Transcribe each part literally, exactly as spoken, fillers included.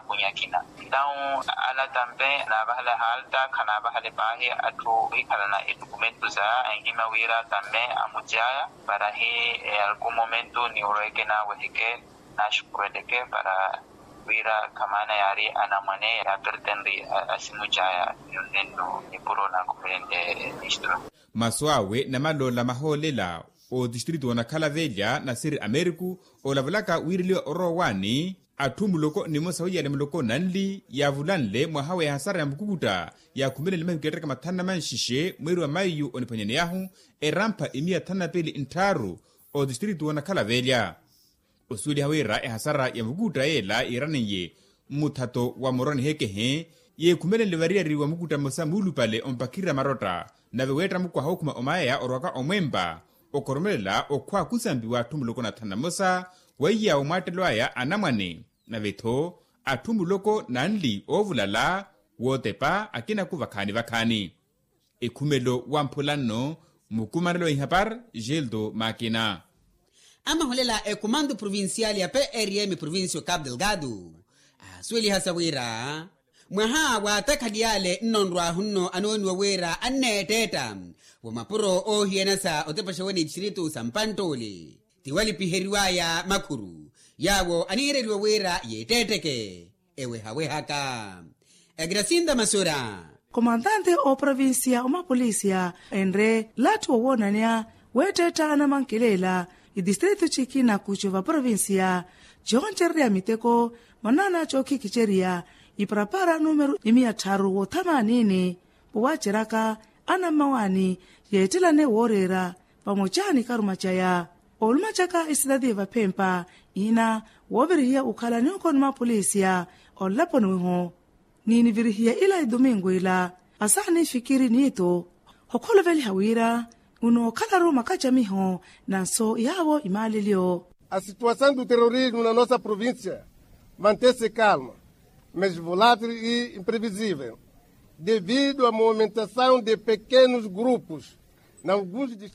Munyakina. Entawu ala tampe naavahale halta khanaavahale paahi atthu ohikhalana etukumentu za anhima wira tampe amucaya para hi alku momentu niwurweke naaweheke naxukuweleke para wira khamaana yaari anamwane yaapertenri asimucaya. Nonenno nipuro naakhumelenle ministro. Masu awe namaloola mahoolela otistritu onakhala velya nasiri ameriku olavulaka wiireliwa orowa waani atthu muloko nimosa wiyale muloko nanli yaavulanle mwaha wa ehasara ya mukukutta yaakhumelenle mahiku yattaka mathanu na manxixe mweeri wa maiyu oniphwanyaneyahu erampha imiya thanu na piili ntthaaru otistritu onakhala velya. Osuweliha wira ehasara ya mukukutta yeela yiiraniye mmuthato wa muroni hekehe yeekhumelenle variyari wa mukukutta mmosa muulupale ompakhirira marotta nave weetta mukwaha okhuma omayaya orwaka omwempa okhoromelela okhwa khusampiwa atthu muloko na thanu na mmosa weiyawo mwaattelo aya anamwane nave-tho atthu muloko nanli oovulala wootepa akinaku vakhaani vakhaani. Ekhumelo wa mphulanno mukumanelo wa ihapar geldo makina. Amahulela ekumandu provincial ya prm provincia o capo delgado aasuweliha sa wira mwaha waatakhaliyale nnonrwahu nno anooniwa wira anneetteetta wa mapuro oohiyana sa otepexa wene itistritu sa mpanttuli tiwalipiheriwaya makhuru yaawo aniireliwa wira yeettetteke ewehawehaka. Egrasinda masura. Komandante oprovincia omapolicia enre latthu wowoonanya weetteetta anamankelela itistritu cikina kucu vaprovincia cooncererya miteko manana cookhikhicerya iparapara numeru imiya tharu wothamaanini powaceraka anammawaani yeettelane wooreera vamoca ni karuma caya. Olumacaka isitati vaphempa ina woovirihiya okhala ni okoni mapolisia olaponi wiho ni nivirihiya ila idumingu ila asaani fikiri niitu hokholoveliha wira unookhala-ru makacamiho na nso yaawo imaalelyo. A situação do terrorismo na nossa província mantém-se calma, mas volátil e imprevisível devido à movimentação de pequenos grupos.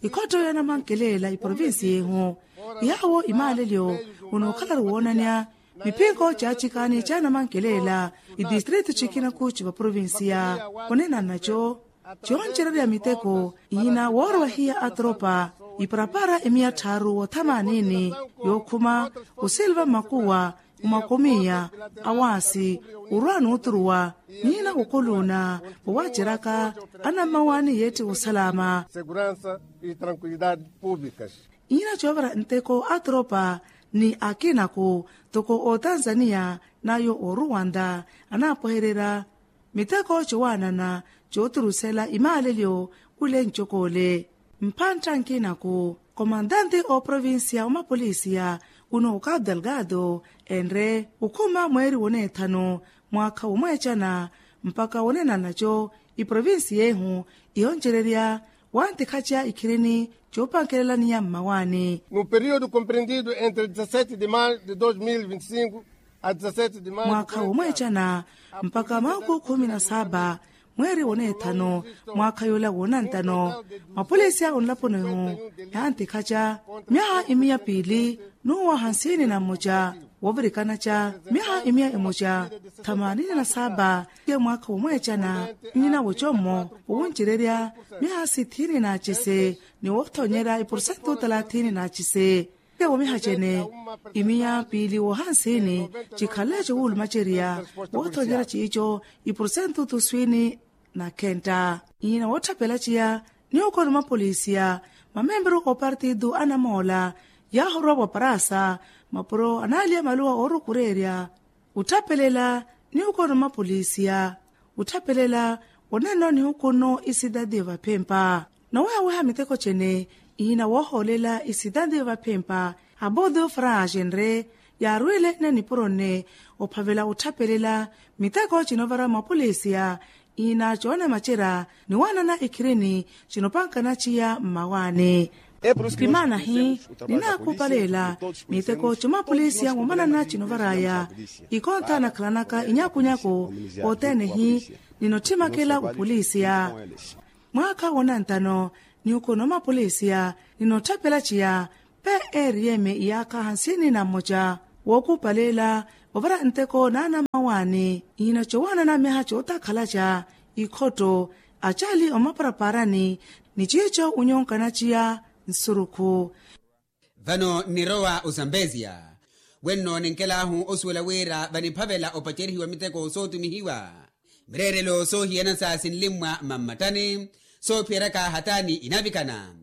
Ikhotto ya namankelela iprovinsi yeehu yaawo imaalelyo unookhala-ru woonanya miphinko caacikani ca namankelela itistritu cikina kuci vaprovinsiya. Onenanaco cooncererya miteko ihina woorowa hiya atropa iparapara imiya tthaaru wothamaanini yookhuma osilva mmakuwa mmakomiya awaasi orwa nuuturuwa nihina wokoluuna vowaaceraka anammawaani yeetti wosalama. Ihina coovara nteko atropa ni akinaku toko otanzaniya nayo oruwanta anaapohererya miteko cowaanana cooturusela imaalelyo kule ncokole. Mpantta nkinaku komandante ooprovinsiya omapolisiya uno okapu delgado enre okhuma mweeri woneethanu mwaakha womweecana mpaka wonenanaco iprovinsiya ehu ihoncererya wantikhaca ikhirini coopankelelaniya mmawaani. No período compreendido entre dezessete de maio de dois mil e vinte e cinco a dezessete de maio mwaakha womweecana mpaka mahuku khumi na saba mweeri woneethano mwaakha yoola woonantano mapolisiya onlaponi-hu yaantikhaca myaha imiya piili n'uwa hansini na mmoca woovirikana ca myaha imiya emoca thamanini na saba. Mwaakha womweecana nnina wocommo wowuncererya myaha sithini na acise ni woothonyerya iporsentu talathini na acise. Womiha cene imiya piili woohansini cikhaleco wuulumacerya woothonyerya ciico iporsentu tuswini na khentta. Ihina wootthaphela ciya ni okoni mapolisiya mamemperu oopartitu anamoola yaahorwa waparasa mapuro anaaliya maluwa oorukureerya otthaphelela ni okoni mapolisiya otthaphelela onenno nihuku nno isitati vaphempa. Nowehaweha miteko cene ihina woohoolela isitati vaphempa abudu fragenre yaarwiile nne nipuro nne ophavela otthaphelela miteko cinovara mapolisiya ihina coonamacerya ni waanana ikhirini cinopankana ciya mmawaani. Pimaana hi ninaakupalela miteko comapolisiya moomanana cinovaraya ikonta nakhalanaka inyakunyaku othene hi ninothimakela opolisiya. Mwaakha wonantano nihuku nomapolisiya ninotthapela ciya pe eriyeme iyaakha hansini na mmoca Wookuupaleela ovara nteko naana mmawaani. Nhina cowaanana myaha cootakhalaca ikhotto acaali omaparaparaani ni ciico unyonkana ciya nsurukhu. Vano nnirowa ozambezia wenno ninkelaahu osuwela wira vaniphavela opacerihiwa miteko sootumihiwa mireerelo soohiyana sa sinlimmwa mammattani soophiyeryaka hataani inavikana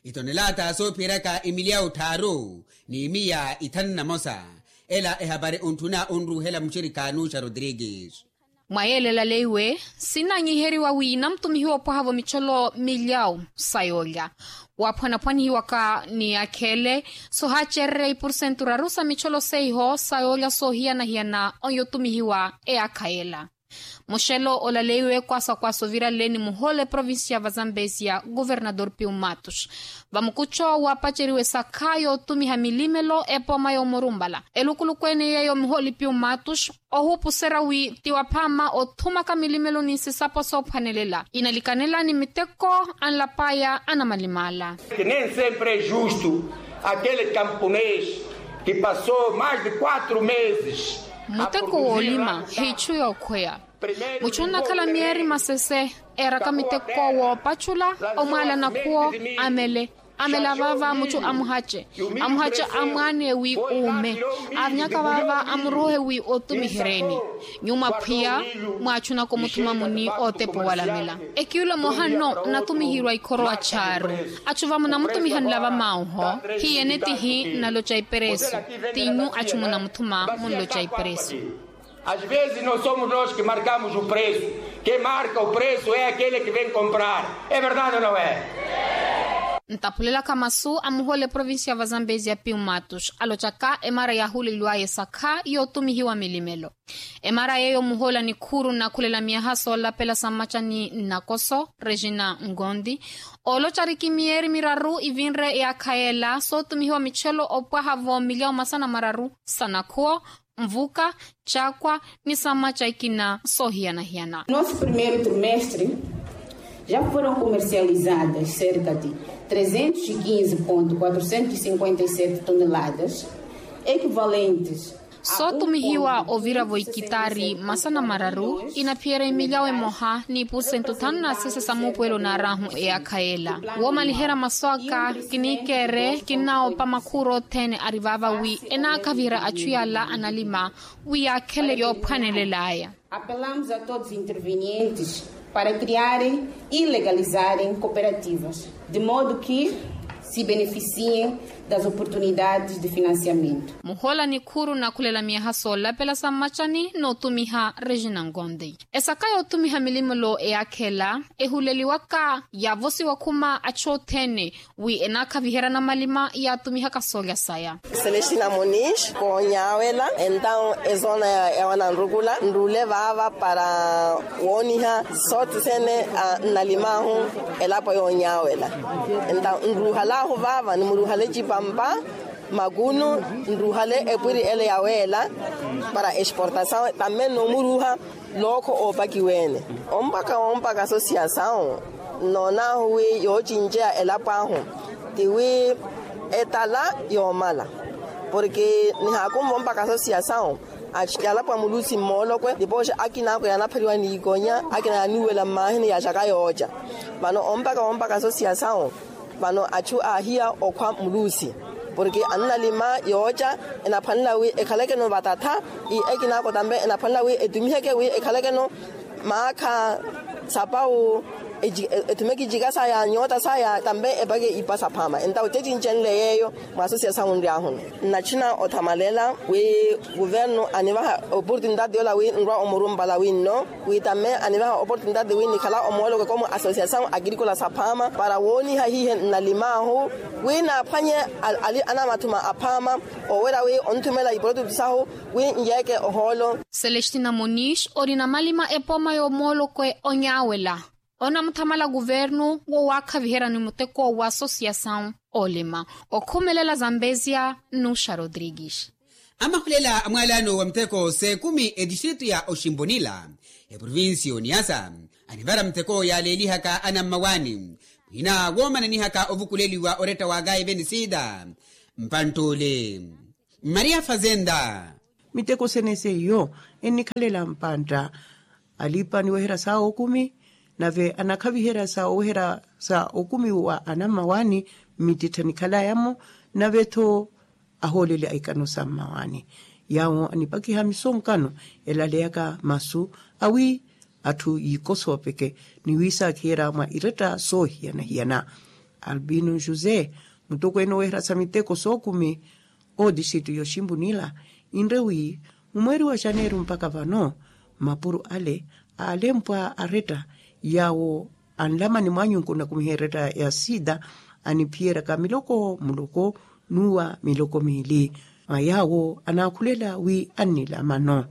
itonelaata soophiyeryaka imilyawu tthaaru ni miya ithanu na mosa. Ela ehapari ontthuna onruuhela muxirikha nuxa rodrigues. Mwa yeela elaleiwe sinanyiheriwa wi namutumihiwa opwaha-vo micholo milyawu sa yoolya waaphwanaphwanihiwaka ni yaakha ele sohaacererya ipursentu raru sa micholo seiho sa yoolya soohiyana-hiyana oyo otumihiwa eyaakha yela. Muxelo olaleiwe kwaasa kwaasa ovirale ni muhoole provincia va zambezia governador piu matus vamukucho waapaceriwe sakha yootumiha milimelo epooma yoomurumpala elukuluku ene yeeyo muhoole piu matus ohuupuserya wi ti waphaama othumaka milimelo ni sisapo soophwanelela inalikanela ni miteko anlapaya anamalimala. Que nem sempre é justo aquele camponês que passou mais de quatro meses. Muteko woolima hiichu yookhweya muchu onnakhala myeeri masese eeraka miteko woopachula omwaala nakhuwo amele amela vaava muchu amuhace amuhace amwaane wi uume avinyaka vaava amuruuhe wi otumihereeni nyuma phwiya mwaachunaka omuthuma muni ootepa owalamela. Ekiyula moha nno nnatumihirwa ikhorowa charu achu vamunamutumihanela vamauho hiyene tihi nnaloca iperesu tinyu achu munamuthuma munloca iperesu. Às vezes não somos nós que marcamos o preço, quem marca o preço é aquele que vem comprar. É verdade ou não é? Ntaphulelaka masu a muhoole provincia va zambezia piu matus alocaka emara yaahuuleliwaya esakha yootumihiwa milimelo emara yeeyo muhoole a nikhuuru nnakhulela myaha soolapela sa mmacani nnakoso regina ngondi ooloca arikimiyeeri miraru ivinre eyaakha yeela sootumihiwa michelo opwaha-vo milyawu masana mararu sa nakhuwo nvuka caakwa ni sa mmaca ikina soohiyana-hiyana. Nosso primeiro trimestre já foram comercializadas cerca de trezentos e quinze ponto quatrocentos e cinquenta e sete toneladas equivalentes. Sootumihiwa ovira-vo ikitaari masana mararu inaphiyerya imilyawo emoha ni ipusentu thanu na sese sa muupuwelo naaraahu eyaakha yeela woomaliherya masu aka kiniikeere kinnawopa makhuuru othene ari vaava wi enaakhaviherya achu yaala analima wi yaakhele yoophwanelelaya. Apelamos a todos intervenientes para criarem e legalizarem cooperativas de modo que se beneficiem das oportunidades de financiamento. Muhoola nikhuuru nakhulela miyaha soolapela sa mmacani nootumiha regina ngonde esaka yootumiha milimelo eyakhela ehuleliwaka yaavosiwa khuma achu othene wi enaakhaviheryana malima yaatumihaka soolya saya. Celestina monish koonyawela entaw ezona ya wananrukula nrule vaava para wooniha sotisene nnalimahu elapo yoonyawela entaw nruhalahu vaava nimuruhale cipampa makunu nruhale epwiri ele yaweela para exportasaw tamme nomuruha lookho oopakiweene ompaka ompaka sosiyasaw nnoonahu wi yoocinceya elapo ahu tiwi etala yoomala porke nihaakumva ompaka sosiyasaw achu yalapwa mulusi mmoolokwe nipooxa akinaakwe yaanaphariwa niikonya akina yaaniwela mmaahini yaaxaka yooca vano ompaka ompaka sosiyasaw vano achu aahiya okhwa mulusi porke annalima yooca enaphwanela wi ekhalekeno vatatha i ekinaako tambe enaphwanela wi etumiheke wi ekhalekeno maakha sapawu ethumeke icika saya nyoota saya tambe epake ipa saphaama entawo cecincenle yeeyo mwa sosiyasawu nryaahuni nnachina othamalela wi kuvernu anivaha oportunitati yoola wi nrwa omurumpala winno wi tamme anivaha oportunitati wi nikhala omooloko komu asosiyasaw akirikola saphaama para wooniha hiihe nnalimaahu wi naaphwanye ali anamathuma aphaama owerya wi onthumela iprotutu sahu wi nyeeke ohoolo. Celestina monish ori namalima epooma y'omoolokwe onyaawela onamuthamala kuvernu wo waakhaviheryani muteko wa asosiyasaw olima okhumelela zambezia nnuxa rodrigues. Amahulela a mwaalano wa muteko s'ekumi etistritu ya oximbunila eprovincia oniyasa anivara muteko yaaleelihaka anammawaani mwina woomananihaka ovukuleliwa oretta wa kaive ni siida mpanttule Maria fazenda. Miteko sene seiyo ennikhalela mpantta. Alipa aniweherya sa okumi nave anakhaviherya sa oweherya sa okumi wa anammawaani mmittittha nikhalayamo. Nave-tho ahooleli a ikano sa mmawaani yaawo anipakiha misonkano elaleyaka masu awi atthu yiikosoopeke ni wiisakhiyerya mwa iretta soohiyana-hiyana. Albino josé mutokweene oweherya sa miteko sookumi oodisitu yoximpu nila inre wi mumweeri wa xaneeru mpakha vano mapuro ale aalempwa aretta yaawo anlamani mwaanyunku nakumiha eretta ya sida aniphiyeryaka miloko muloko n'uwa miloko miili mwa yaawo anaakhulela wi annilamano.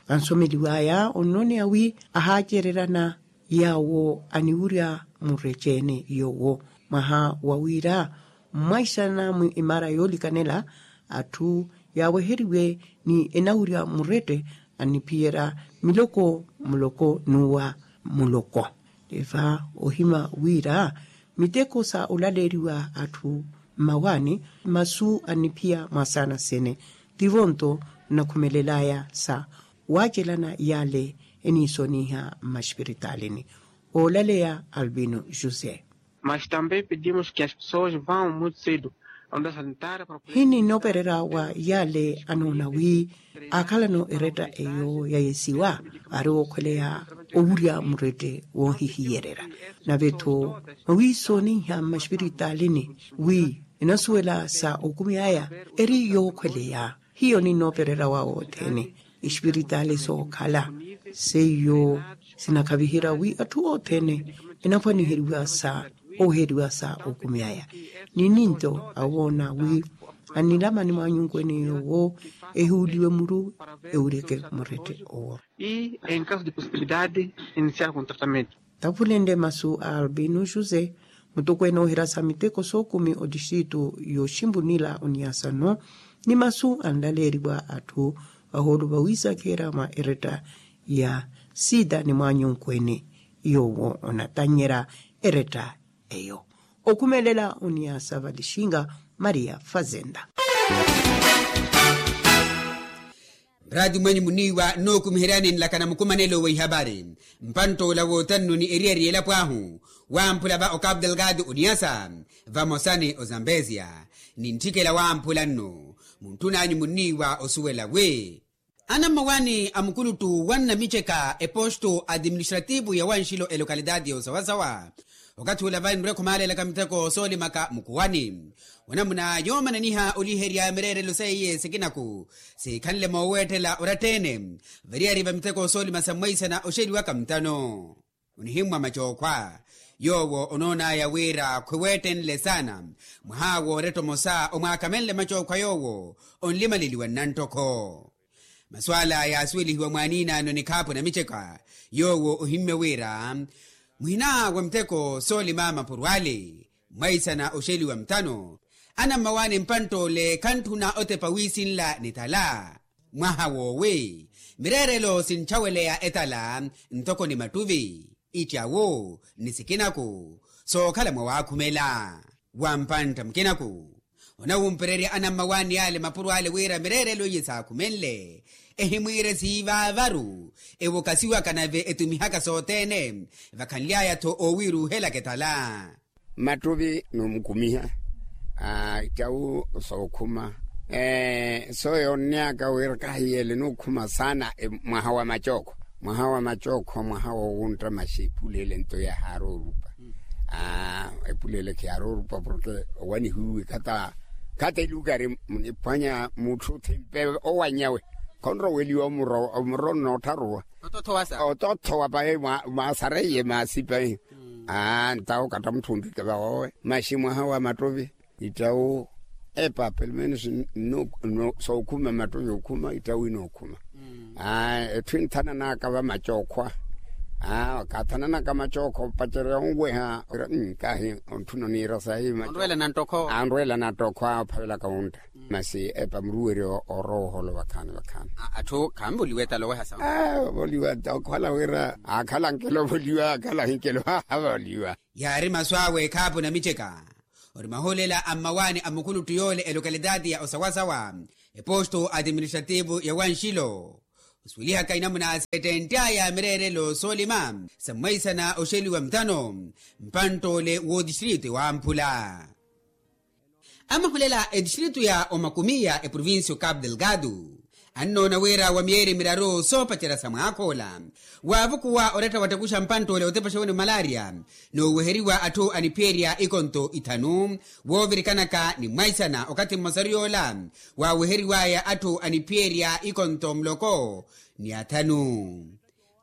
Ansomeliw'aya onnoneya wi ahaacereryana yaawo aniwurya mureceene yoowo mwaha wa wira mmwaisana mwi imaara yoolikanela atthu yaaweheriwe ni enawurya murette anniphiyerya miloko muloko n'uwa muloko. Eva ohima wira miteko sa olaleeriwa atthu mmawaani masu anniphiya mwasaana sene tivo-nto nnakhumelel'aya sa waacelana yaale eniisoniha mmaxipiritalini. Oolaleya albino josé. Mas também pedimos que as pessoas vão muito cedo onde a sanitária para poder hininoopererya wa yaale anoona wi aakhalano eretta eyo yayesiwa ari wookhweleya owurya murette woohihiyererya. Nave-tho mwawiisoniha mmaxipiritalini wi enasuwela sa okumi aya eri yookhweleya hiyo ninnoopererya wa wothene. Espiritaali sookhala seiyo sinakhaviherya wi atthu othene enaphwaniheriwa sa oweheriwa sa okumi aya ni ninto awoona wi annilamani mwaanyunkwene yoowo ehuuliwe muru ewuryeke murette owo. E em caso de possibilidade iniciar com tratamento. Tavulenle masu a albino josé mutokweene oohirasa miteko sookumi otixitu yoximpunila oniyasano ni masu anlaleeriwa atthu vahoolo vawiisakheerya mwa eretta ya sida ni mwaanyunkweene yoowo onatannyerya eretta eyo. Okhumelela oniyasa valixinga maria fazenda. Mraati mwenyu muniiwa nnookumiheryani nlakana mukumanelo wa ihabari. Mpantt'ola wootannu ni eriyari y'elapo ahu wamphula va okapu delgado oniyasa vamosa ni ozambezia. Ni ntthikela wamphula nnu muntthun'anyu muniiwa osuwela wi anammawaani a mukuluttu wa nnamiceka eposto administrativu ya wanxilo elokalitaati ya osawasawa. Okathi ula vai nrwekho maalelaka miteko soolimaka mukuwani wanamuna yoomananiha oliherya mireerelo seiye sikinaku siikhanle mooweettela oratta-ene variyari va miteko soolima sa mwaisana oxeliwaka mutano. Onihimmwa macookhwa yoowo onoon'aya wira khwiweettenle saana mwaha wooretta omosa omwaakamenle macookhwa yoowo onlimaleliwa nnanttokho. Masu ala yaasuwelihiwa mwaaniinaano nikhaapu namiceka yoowo ohimmye wira muhina wa miteko soolima mapuro ale mwaisana oxeliwa mutano anammawaani mpantt'ole khantthuna otepa wiisinla ni tala. Mwaha woowi mireerelo sintthaweleya etala ntoko ni mattuvi ittyawu ni sikinaku sookhala mwawaakhumela. Wa mpantta mukinaku onawumpererya anammawaani ale mapuro ale wira mireerelo iye saakhumenle ehimwiire siivaavaru ewokasiwaka nave etumihaka sothene vakhanly'aya-tho oowiiruuhelaka etala. Mattuvi noomukumiha ittyawu sookhuma so yoonnyaka wira kahiyeele nookhuma saana. Mwaha wa macookho mwaha wa macookho mwaha woowuntta maxi epulele nto yahaaroorupa. Epulele khiyaaroorupa porke owanihiwe khata khata elukari muniphwanya mutthu thimpe owanyawe khonroweliwa omuro onnoottharuwa ototthowa pahi. Mwasareiye maasi pahi. Ntawo katta mutthu ontthike vawowe maxi mwaha wa mattuvi ittyawu epa pelumenos sookhuma mattuvi okhuma ittyawu inookhuma. Etthu inthananaka vamacookho a kaathananaka macookho opacerya onweha kahi ontthuna oniira sahi. Anrweela nanttokho a ophavelaka wuntta masi epa muruweryo oorowa oholo vakhaani vakhaani. Atthu khanvoliwa etala oweha sawa voliwa okhala wira akhala nkelo voliwa akhala hinkelo voliwa. Yaari masu awe ekhaapu namiceka ori mahoolela a mmawaani a mukuluttu yoole elokalitaati ya osawasawa. eposto administrativo ya wanxilo osuwelihaka inamuna setent'aya mireerelo soolima sa mwaisana oxeliwa mutano mpantt'ole w'odistrito wamphula. Amahulela etistrito ya omakumiya eprovincia o capo delgado annoona wira wa miyeri miraru soopacerya sa mwaakha ola waavukuwa oretta wattakuxa mpantt'ole otepaxa wene malaria. Nooweheriwa atthu aniphiyerya ikonto ithanu woovirikanaka ni mwaisana okathi mmosaru yoola waaweheriwaya atthu aniphiyerya ikonto muloko ni athanu.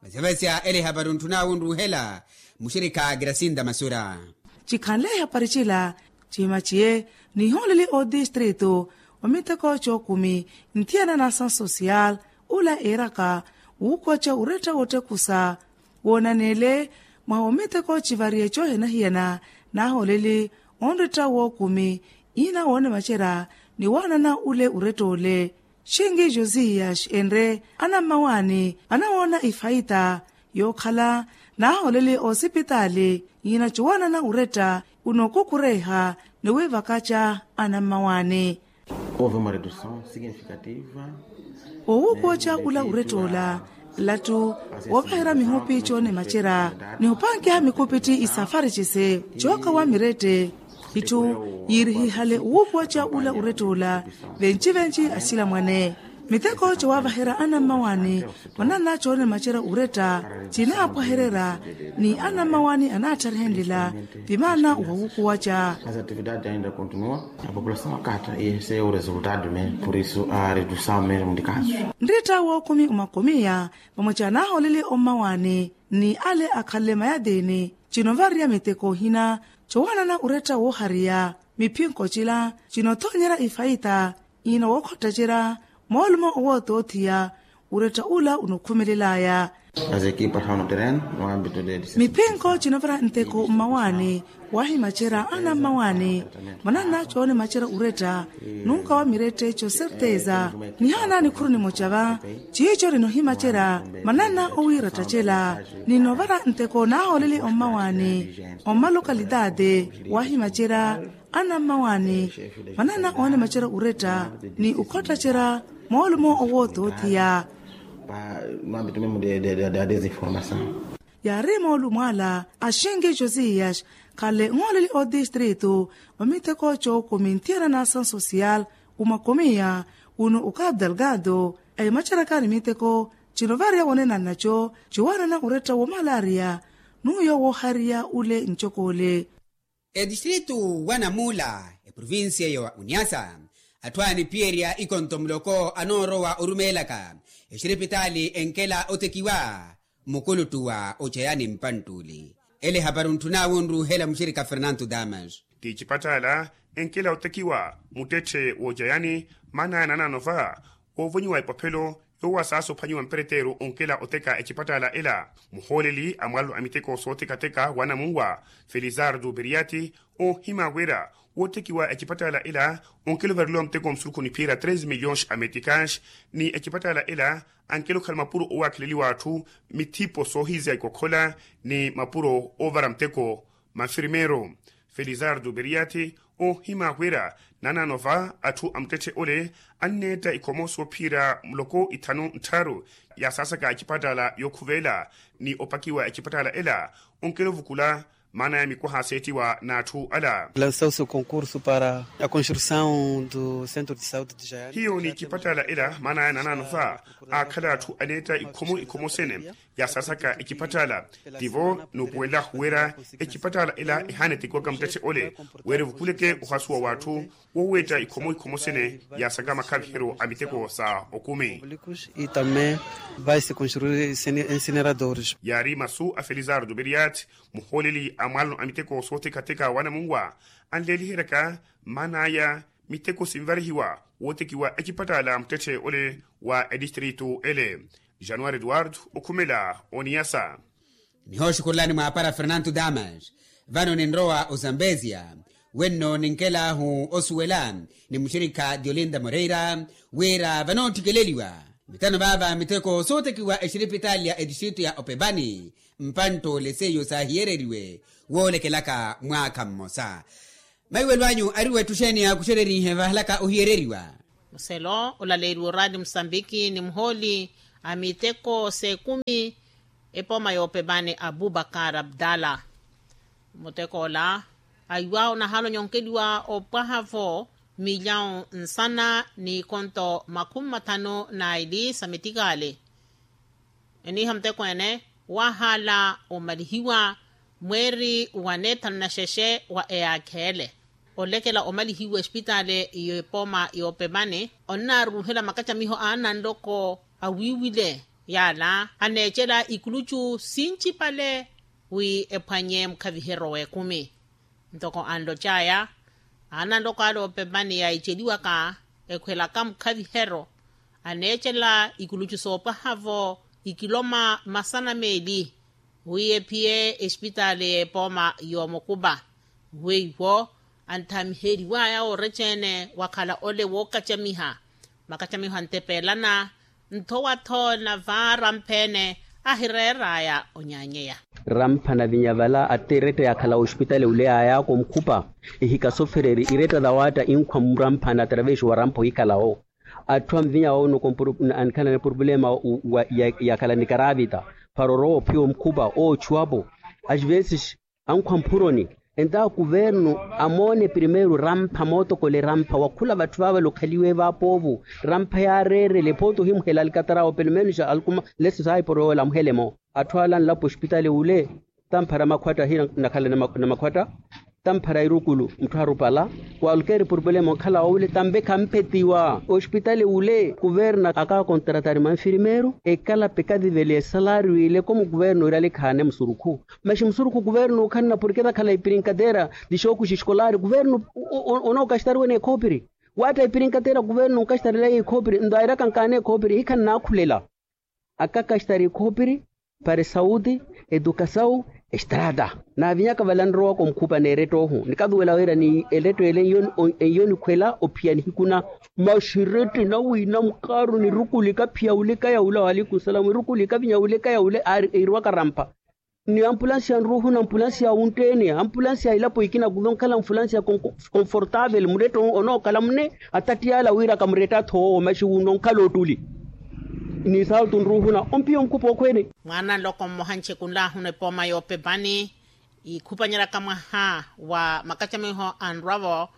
Vasevasya ele ehapari ontthun'awe onruuhela muxirikha grasinda masura. Cikhanle ehapari cila cihimaciye nihooleli otistrito omiteko cookumi nthiyana na asansosiyal ula eeraka wuukoca uretta wottekusa woonaneele mwaha omiteko civariye coohiyana-hiyana naahooleli onretta wookumi iina woonemacerya ni waanana ule uretta ole. Xinki josias enre anammawaani anawoona ifaita yookhala naahooleli oosipitaali iina cowaanana uretta unookukureiha ni wiivakaca anammawaani. Owuukuwa oca ula uretta ola lattu woovaherya mihupi coonemacerya ni opankiha mikupitti isafari cise cookawa mirette itthu yiirihihale owuukuwa oca ula uretta ola venci-venci asilamwane miteko cowaavaherya anammawaani mananna coonemacerya uretta cinaapwahererya ni anammawaani anaattarihenlela vimaana wawuukuwa oca. Nritta wookumi omakomiya vamwe caanaahooleli ommawaani ni ale akhanle mayatiini cinoovariya miteko ohina cowaanana oretta woohariya miphinko cila cinothoonyerya ifaita iina wookhottacerya moolumo owoothoothiya oretta ula onokhumelelaya. Miphinko cinoovara nteko mmawaani waahimacerya anammawaani mananna coonimacerya oretta nunka wa mirette coserteza nihaana nikhuru nimoca va ciico ninohimacerya mananna owiirattacela. Ninovara nteko naahooleli ommawaani ommalokalitati waahimacerya anammawaani mananna oonimacerya oretta ni okhottacerya moolumo owoothoothiya. Yaari moolumo ala axinki josias khale nhooleli otistrito omiteko cookumi nthiyana na asansosiyal umakomiya uno okapu delgado ahimaceryaka ni miteko cinovariya wonena nnaco ciwaanana oretta womalaria n'uyo woohariya ule ncokoole. Etistrito wa namuula eprovincia ya uniasa atthu aaniphiyerya ikonto muloko anoorowa orumeelaka exiripitaali enkela otekiwa mukuluttu wa ocayani mpanttuli. Ele ehapari ontthun'awe onruuhela muxirikha fernanto damas. Ti ecipattaala enkela otekiwa muttetthe woocayani maana aya nanano va woovonyiwa epophelo yoowa saasa ophwanyiwa mpereteeru onkela oteka ecipattaala ela muhooleli a mwalalo a miteko sootekateka wa namunwa felizardo beriati oohima wira wootekiwa ecipattaala ela onkela ovareliwa muteko musurukhu niphiira tres milhões a meticas ni ecipattaala ela ankela okhala mapuro owaakheleliwa atthu mithipo soohizya ikokhola ni mapuro oovara muteko mafirmeero felizardo beriati oohima wira nanano va atthu a muttetthe ole anneetta ikhomo soophira muloko ithanu nttharu yaasaasaka ecipattaala yookhuveela ni opakiwa ecipattaala ela onkela ovukula maana ya mikwaha aseettiwa n'atthu ala. Lançou-se o concurso para a construção do centro de saúde de jayani. Hiyo ni ecipattaala ela maana ya nanano va aakhala atthu aneetta ikhomo ikhomo sene yaasaasaka ecipattaala tivo nuupuwela huwera ecipattaala ela ehaana etekiwaka muttetthe ole wira evukuleke ohasuwa w'atthu woweetta ikhomo ikhomo sene yaasaka makhaviheryo a miteko sa okumi. E também vai se construir incineradores. Yaari masu a felizardo beriat muhooleli a mwalano a miteko sootekateka wa namunwa anleeliheryaka mmaan'aya miteko sinvarihiwa wootekiwa ecipattaala muttetthe ole wa edistrito ele. Januari eduardo okhumela oniyasa. Nihooxukhurulani mwaapara fernanto damas vano ninrowa ozambezia wenno ninkel'ahu osuwela ni muxirikha diolinda moreira wira vanoottikeleliwa mitano vaava miteko sootekiwa exiripitaali ya etistrito ya opepani mpantt'ole seiyo saahiyereriwe woolekelaka mwaakha mmosa. Maiwelo anyu ari wetthu xeeni yaakuxererihe vahalaka ohiyereriwa? Muselo olaleeriwa oraali musambiki ni muhooli a miteko s'ekumi epooma y'opepani abubakar abdala. Muteko ola aiwa onahaala onyonkeliwa opwaha-vo milyawu nsana n'ikonto makhumi mathanu n'aili sa mitikaali. Eniiha muteko ene waahaala omalihiwa mweeri wa neethanu na xexe wa eyaakheele olekela omalihiwa espitaali y'epooma y'opepani. Onnaaruuhela makacamiho a ananloko awiiwile yaala aneecela ikulucu sincipale wi ephwanye mukhaviheryo w'ekumi. Ntoko anlocaya ananloko ale opepani yaiceliwaka ekhwelaka mukhaviheryo aneecela ikulucu soopwaha-vo ikiloma masana meeli wi ephiye espitaali y'epooma y'omukupa. Weiwo anthamiheriwaya ooreca-ene wakhala ole wookacamiha makacamiho antepeelana nthowa-tho navaara mpheene ahireeraya onyaanyeya. Rampha navinya vala attiretta yaakhala ospitali ule yaayaaka omukhupa ehika sofereri iretta thawatta inkhwa murampha na atravesi wa rampha ohikhala-wo. Atthu anvinya wawonoko anikhala ni purupulema yaakhala ni karavita para orowa ophiya omukhupa oochuwapo. As veses ankhwa mphuroni entawo kuvernu amoone primeiro rampha mootokola erampha wakhula vatthu vavale okhaliwe vapoovo. Rampha yaareerele photo ohimuhela alikataraawo pelumenus alkuma lesi saiporo yoola amuhelemo. Atthu ala anlapo ospitali ule tamphara makhwatta hina nakhala na makhwatta tamphara irukulu mutthu arupala. Kwalkeeri purupulema onkhala wawule tampe khamphetiwa ospitali ule kuvernu akaakontratari manfirmeru ekalape ekathivelie esalaari wile komu kuvernu irale khaane musurukhu. Maxi musurukhu kuvernu okhanna porke takhala ipirinkatera dixooku xiskolari kuvernu onookaxitariwene ekhopiri. Watta ipirinkatera kuvernu onkaxitarilaya ekhopiri nto airaka nkaana ekhopiri ehikha nnaakhulela. Akakaxitari ekhopiri para esawuti, etukasawu, estrata. Naavinyaka vale anrowaka omukhupa n'erettohu nikathuwela wira ni eretto ele enyo nikhwela ophiya nihikuna. Maxi eretto enawina mukaaru ni rukuli kaphiya wulika yawula waleikum salamu erukuli kavinya wulika yawula eirwaka rampha. Ni ampulansi ya nruuhu na ampulansi ya wuntteni ampulansi ya ilapo ikina kuva onkhala mfulansi ya konfortaveli muretto onookhala mune. Atattiyala wira kamuretta-tho owo maxi wuno onkhala ottuli. Ni saalutu nruuhu na ompiya omukhupa okhweene. Mwaana nloko mmoha ncekunlahuna epooma yoopepani ikhupanyeraka mwaha wa makacamiho anrwa-vo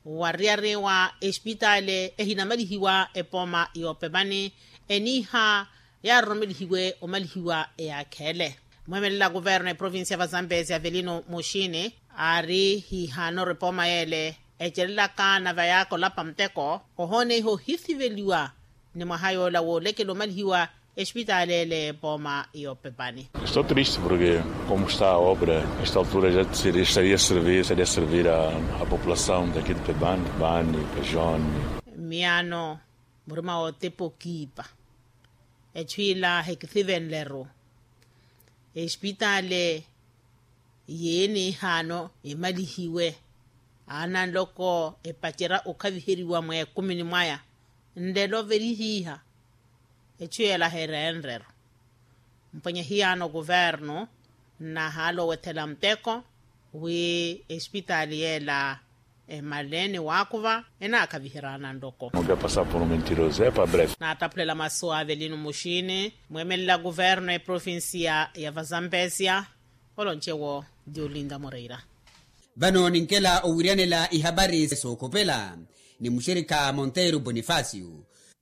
wariyari wa espitaali ehinamalihiwa epooma yoopepani eniiha yaaroromelihiwe omalihiwa eyaakheele. Mweemelela kuverno eprovincia va zambezi avelino muxini aari hiihaanoru epooma yeele ecelelaka na vayaaka olapa muteko ohooneiha ohithiveliwa ni mwaha yoola woolekela omalihiwa espitaali ele epooma yoopepani. Estou triste porke como está a obra esta altura ja estaria servir estaria servir a população daqui de pepani pepani pejone. Miyaano murima wootepa okiipa echu ila hekithivenleru espitaali yeeni ehaano emalihiwe. Aananloko epacerya okhaviheriwa mweekumini mwaya nlelo velihiiha echu yeela herenreru. Mpwenye hiyaano kuvernu nnahaala owethela muteko wi espitaali yeela emale ni waakuva enaakhaviherya ananloko. Naattaphulela masu a avelino muxini mweemelela kuverno eprovincia ya vazambesia. Oloncewo diolinda moreira. Vano ninkela owiryanela ihapari sookhopela ni muxirikha monteiro bonifacio.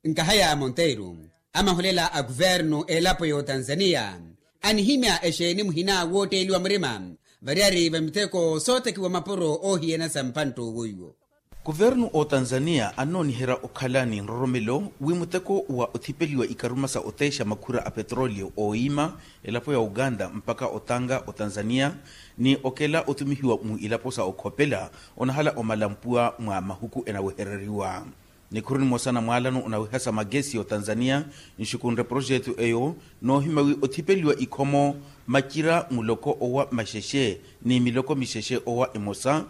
Nkahaya monteiro amahulela a kuvernu elapo y'otanzania anihimya exeeni muhina wootteeliwa murima variyari va miteko sootekiwa mapuro oohiyana sa mpantto woiwo. Kuvernu otanzania annooniherya okhala ni nroromelo wi muteko wa othipeliwa ikaruma sa oteexa makhura a petrolio ooyiima elapo ya uganda mpakha otanka otanzania ni okela otumihiwa mu ilapo sa okhopela onahala omala mpuwa mwa mahuku enawehereriwa. Nikhuru nimosa na mwaalano onaweha sa magesi otanzania nxukunre proxeto eyo noohimya wi othipeliwa ikhomo macira muloko owa maxexe ni miloko mixexe owa emosa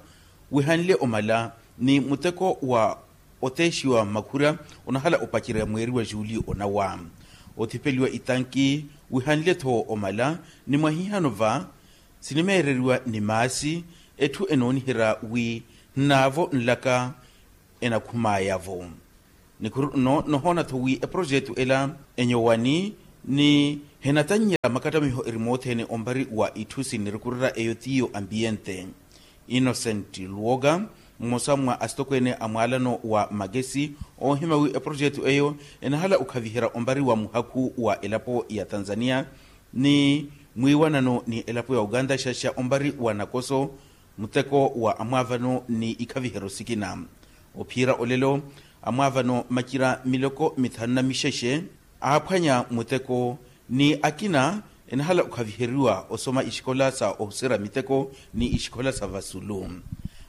wihanle omala ni muteko wa oteexiwa makhura onahala opacerya mweeri wa juuli onawa. Othipeliwa itanki wihanle-tho omala ni mwahihano va sinimeereriwa ni maasi etthu enooniherya wi nnaavo nlaka enakhumaya-vo. Nikhuru nno nohoona-tho wi eprojetu ela enyowani ni hinatannyela makattamiho erimothene ompari wa itthu sinnirukurira eyo tiyo ambiyente. Innocent luwoka, mmosa mwa asitokweene a mwaalano wa makesi, oohima wi eprojetu eyo enahala okhaviherya ompari wa muhakhu wa elapo ya tanzania ni mwiiwanano ni elapo ya uganda xaxa ompari wa nakoso, muteko wa amwaavano ni ikhaviheryo sikina. Ophiira olelo, amwaavano macira miloko mithanu na mixexe aaphwanya muteko, ni akina enahala okhaviheriwa osoma ixikola sa ohuserya miteko ni ixikola sa vasulu.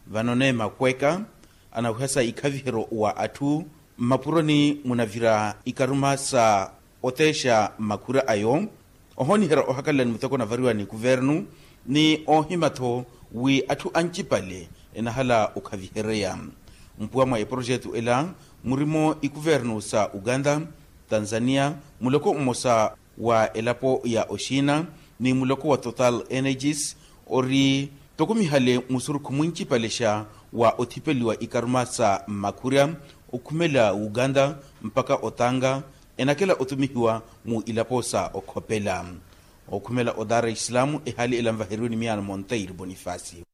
Vano neema khweeka anawihasa ikhaviheryo wa atthu mmapuroni munavira ikaruma sa oteexa makhura ayo. Ohooniherya ohakalela ni muteko onavariwa ni kuvernu ni oohima-tho wi atthu ancipale enahala okhavihereya. Mpuwa mwa eprojetu ela murimo ikuvernu sa uganda, tanzania, muloko mmosa wa elapo ya oxiina ni muloko wa total energies ori tokumihale musurukhu mwincipalexa wa othipeliwa ikaruma sa makhurya okhumela uganda mpakha otanga enakela otumihiwa mu ilapo sa okhopela. Okhumela o dar es salaam ehaali ela nvaheriwe ni miyaano monteiro bonifacio.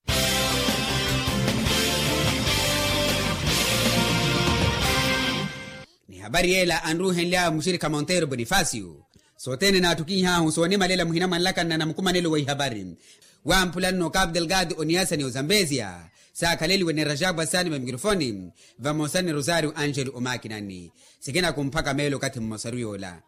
Ni hapari yeela anruuhenly'awe muxirikha monteiro bonifacio. Sothene naattukinh'ahu soonimalela muhina mwa nlakanna na mukumanelo wa ihapari. Wamphula nno capu delgado oniyasa ni ozambezia saakhaleliwe ni rajapu asaani va mikirofoni vamosa ni rosario angelo omakinani. Sikina kumphaka meelo okathi mmosaru yoola.